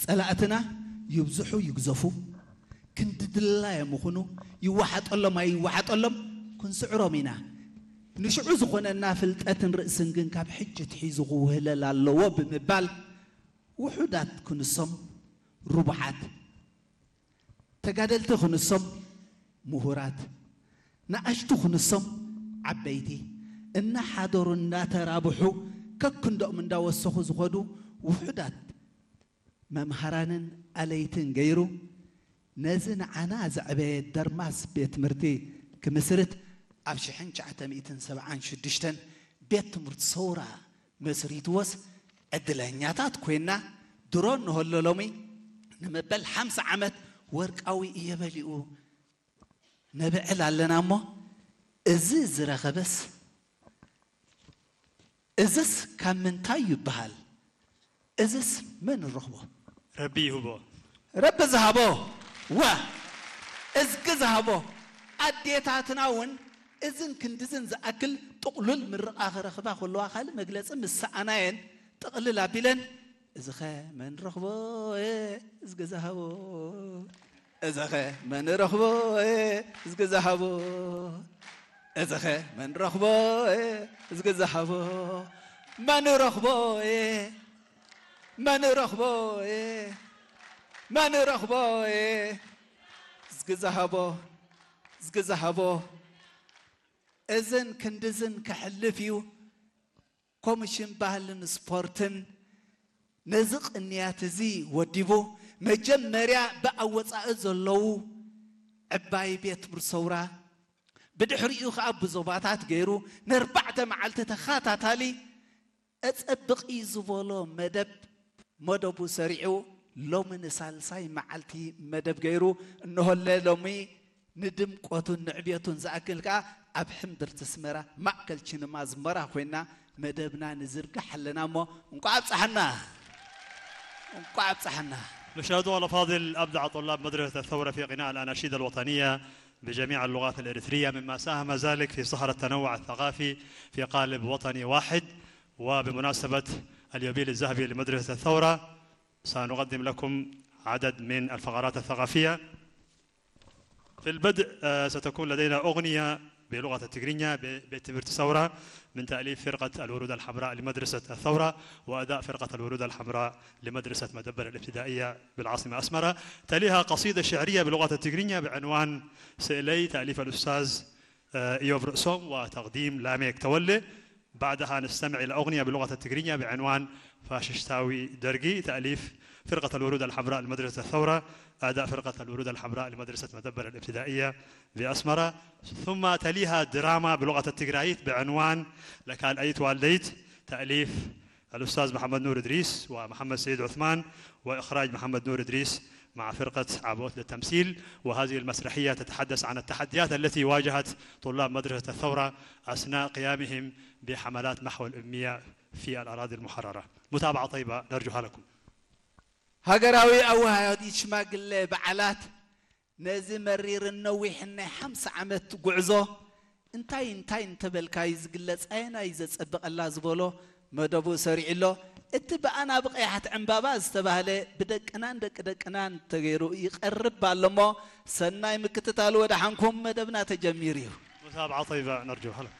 ጸላእትና ይብዝሑ ይግዘፉ፣ ክንዲ ድላዮም ይኹኑ፣ ይወሓጠሎም ኣይወሓጠሎም ክንስዕሮም ኢና። ንሽዑ ዝኾነና ፍልጠትን ርእስን ግን ካብ ሕጂ ኣትሒዙ ክውህለል ኣለዎ ብምባል፣ ውሑዳት ክንሶም ርቡሓት፣ ተጋደልቲ ክንሶም ምሁራት፣ ንኣሽቱ ክንሶም ዓበይቲ፣ እናሓደሩ እናተራብሑ፣ ከክንዶኦም እንዳወሰኹ ዝኸዱ ውሑዳት መምሃራንን ኣለይትን ገይሩ፣ ነዚ ንዓና ዘዕበየ ደርማስ ቤት ትምህርቲ ክምስርት፣ ኣብ ሽሕን ትሽዓተ ሚእትን ሰብዓን ሽዱሽተን ቤት ትምህርቲ ሰውራ መስሪትዎስ፣ ዕድለኛታት ኮይና፣ ድሮ እንሆሎ ሎሚ ንመበል ሓምሳ ዓመት ወርቃዊ እየበሊኡ ነብዕል ኣለና እሞ፣ እዚ ዝረኸበስ፣ እዝስ ካብ ምንታይ ይበሃል? እዝስ መን ረኽቦ? ረቢ ይህቦ። ረቢ ዝሃቦ። ዋ፣ እዝጊ ዝሃቦ። ኣዴታትና እውን እዝን ክንድዝን ዝኣክል ጥቕሉል ምርቓ ክረኽባ ከለዋ፣ ካልእ መግለጺ ምስ ሰኣናየን፣ ጥቕልል ኣቢለን፣ እዝኸ መን ረኽቦ? እዝጊ ዝሃቦ። እዝኸ መን ረኽቦ? እዝጊ ዝሃቦ። እዝኸ መን ረኽቦ? እዝጊ ዝሃቦ። መን ረኽቦ? መን ረኽቦ? መን ረኽቦ? እዝጊ ዝሃቦ። እዝጊ ዝሃቦ። እዝን ክንድዝን ከሕልፍ እዩ። ኮሚሽን ባህልን ስፖርትን ነዚ ቅንያት እዚ ወዲቡ፣ መጀመርያ ብኣወጻኢ ዘለዉ ዕባይ ቤት ትምህርቲ ሰውራ፣ ብድሕሪኡ ኸኣ ብዞባታት ገይሩ፣ ነርባዕተ መዓልቲ ተኸታታሊ፣ ኣጸብቕ እዩ ዝበሎ መደብ፣ መደቡ ሰሪዑ፣ ሎሚ ንሳልሳይ መዓልቲ መደብ ገይሩ፣ እንሆለ ሎሚ ንድምቀቱን ንዕቤቱን ዝኣክል ከኣ ኣብ ሕምብርቲ ኣስመራ ማእከል ቺንማ ዝመራ ኮይና መደብና ንዝርግሕ ኣለና እሞ እንቋዕ ኣብጽሓና። እንቋዕ ኣብጽሓና። مشاهدونا الأفاضل، أبدع طلاب مدرسة الثورة في غناء الأناشيد الوطنية بجميع اللغات الإريترية، مما ساهم ذلك في صهر التنوع الثقافي في قالب وطني واحد. وبمناسبة اليوبيل الذهبي لمدرسة الثورة، سنقدم لكم عدد من الفقرات الثقافية. في البدء، آه، ستكون لدينا أغنية بلغة التجرينية ب-، ቤት ትምህርቲ ሰውራ من تأليف فرقة الورود الحمراء لمدرسة الثورة وأداء فرقة الورود الحمراء لمدرسة مدبر الابتدائية بالعاصمة أسمرة. تليها قصيدة شعرية بلغة التجرينية بعنوان سئلي، تأليف الأستاذ، آه، إيوب رؤسوم، وتقديم لاميك تولي. بعدها نستمع إلى أغنية بلغة التجرينية بعنوان فاششتاوي درقي، تأليف فرقة الورود الحمراء لمدرسة الثورة، أداء فرقة الورود الحمراء لمدرسة مدبر الابتدائية بأسمرة. ثم تليها دراما بلغة التجرايت بعنوان لكال أيت والديت، تأليف الأستاذ محمد نور إدريس ومحمد سيد عثمان، وإخراج محمد نور إدريس مع فرقة عبوت للتمثيل. وهذه المسرحية تتحدث عن التحديات التي واجهت طلاب مدرسة الثورة أثناء قيامهم بحملات محو الأمية في الأراضي المحررة. متابعة طيبة نرجوها لكم. ሃገራዊ ኣወሃሃዲ ሽማግለ በዓላት ነዚ መሪርን ነዊሕን ናይ ሓምሳ ዓመት ጉዕዞ እንታይ እንታይ እንተበልካዩ ዝግለጽ ኣየናይ ዘጸብቐላ ዝበሎ መደቡ ሰሪዑ ኣሎ። እቲ ብኣና ብቐያሕቲ ዕምባባ ዝተባህለ ብደቅናን ደቂ ደቅናን ተገይሩ ይቐርብ ኣሎ እሞ፣ ሰናይ ምክትታል ወደሓንኩም፣ መደብና ተጀሚሩ እዩ። متابعة طيبة نرجوها لكم.